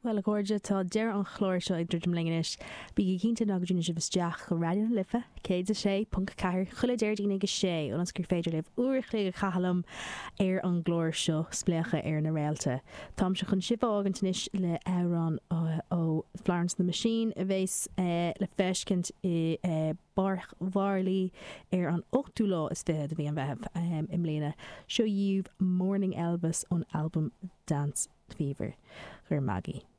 Bhuel, a chairde, tá deireadh an chláir seo ag druidim linn anois. Bígí cinnte ná go dtiúnann sibh isteach go Raidió na Life 106.4 chuile Déardaoin ag a sé, ionas gur féidir libh uair a chloig a chaitheamh liom ar an gclár seo, Spléachadh ar na Réalta. Táimse chun sibh a fhágaint anois le hamhrán ó Florence and the Machine a bheas le feiscint i bPáirc Mharlaí ar an ochtú lá is fiche de mhí an Mheithimh i mbliana. Seo dhaoibh Mourning Elvis ón albam Dance Fever. Go raibh maith agaibh.